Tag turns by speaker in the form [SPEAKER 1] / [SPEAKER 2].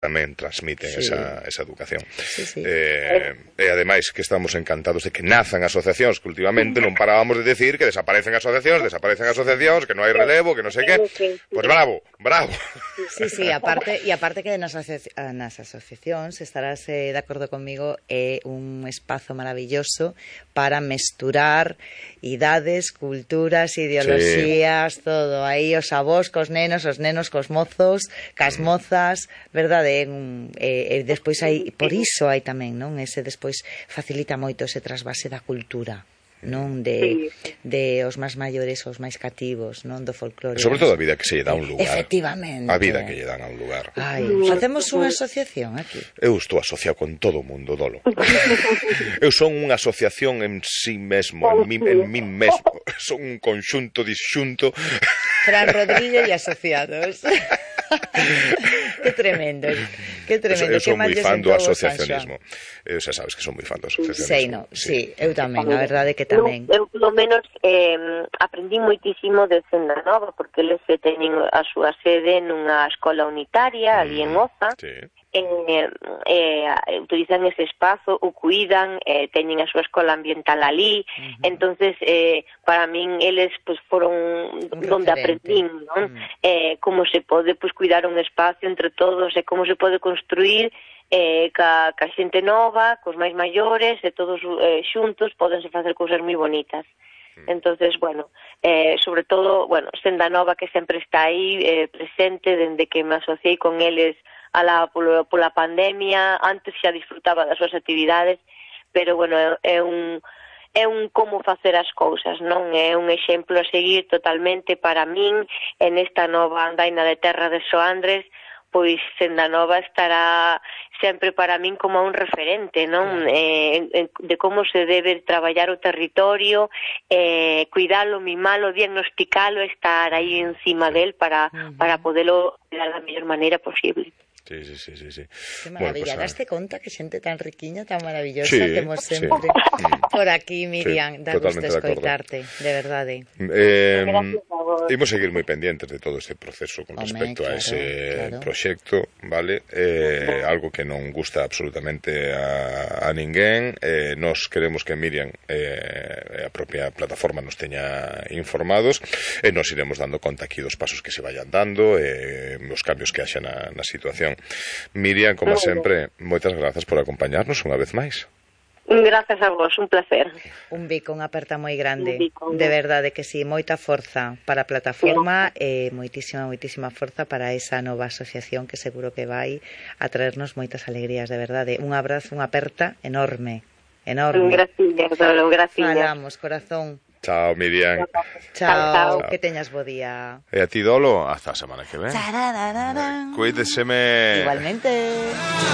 [SPEAKER 1] tamén transmiten esa educación. E ademais que estamos encantados de que nazan asociacións, que últimamente non parábamos de decir que desaparecen asociacións, que non hai relevo, que non sei que. Pois bravo.
[SPEAKER 2] Sí, aparte que nas asociacións, estarás de acordo comigo, é un espazo maravilloso para mesturar idades, culturas, ideoloxías, todo aí, os avós cos nenos, os nenos cos mozos, cas mozas, verdade? Despois hai, por iso hai tamén, non? Ese despois facilita moito ese trasvase da cultura, non? De os máis maiores aos máis cativos, non? Do folclore.
[SPEAKER 1] Sobre todo a vida que se lle dá un lugar.
[SPEAKER 2] Efectivamente.
[SPEAKER 1] A vida que lle dan a un lugar.
[SPEAKER 2] Facemos unha asociación aquí.
[SPEAKER 1] Eu estou asociado con todo o mundo, Dolo. Eu son unha asociación en sí mesmo, en mí mesmo. Son un conxunto disxunto.
[SPEAKER 2] Fran Rodríguez e asociados. Que tremendo.
[SPEAKER 1] Eu son moi fan do asociacionismo. Xa sabes que son moi fan do asociacionismo.
[SPEAKER 2] Sí, eu tamén, a verdade que tamén.
[SPEAKER 3] Eu, polo menos, aprendí moitísimo de Senda Nova, porque eles teñen a súa sede nunha escola unitaria, ali en Oza, utilizan ese espazo, o cuidan, teñen a súa escola ambiental ali, entonces para min eles pues foron donde aprendín, non? Como se pode pues cuidar un espacio entre todos e como se pode construir ca xente nova, cos máis maiores, e todos xuntos podense facer cousas moi bonitas. Entonces, sobre todo, Senda Nova, que sempre está aí presente dende que me asociei con eles pola pandemia. Antes xa disfrutaba das súas actividades, pero é un como facer as cousas, non? É un exemplo a seguir totalmente para min en esta nova andaina de terra de Soandres. Pois Senda Nova estará sempre para min como un referente, non? De como se debe traballar o territorio, cuidalo, mimalo, diagnosticalo, estar aí encima del para podelo dar da mellor maneira posible.
[SPEAKER 1] Sí.
[SPEAKER 2] Que maravilla, daste conta que xente tan riquiña, tan maravillosa, temos sempre por aquí, Miriam, da gusto escoitarte, de verdade.
[SPEAKER 1] Imos seguir moi pendientes de todo este proceso con respecto a ese proxecto, vale? Algo que non gusta absolutamente a ninguén. Nos queremos que Miriam a propia plataforma nos teña informados, e nos iremos dando conta aquí dos pasos que se vayan dando, os cambios que haxa na situación. Miriam, como sempre, moitas grazas por acompañarnos unha vez máis.
[SPEAKER 3] Grazas a vos, un placer.
[SPEAKER 2] Un bico, unha aperta moi grande. De verdade que sí, moita forza para a plataforma e moitísima forza para esa nova asociación que seguro que vai a traernos moitas alegrías, de verdade. Un abrazo, unha aperta enorme.
[SPEAKER 3] Gracias, Dolo, gracias.
[SPEAKER 2] Falamos, corazón.
[SPEAKER 1] Chao, Miriam.
[SPEAKER 2] Chao, que teñas bo día.
[SPEAKER 1] E a ti, Dolo, hasta a semana que ven. Cuídeseme.
[SPEAKER 2] Igualmente.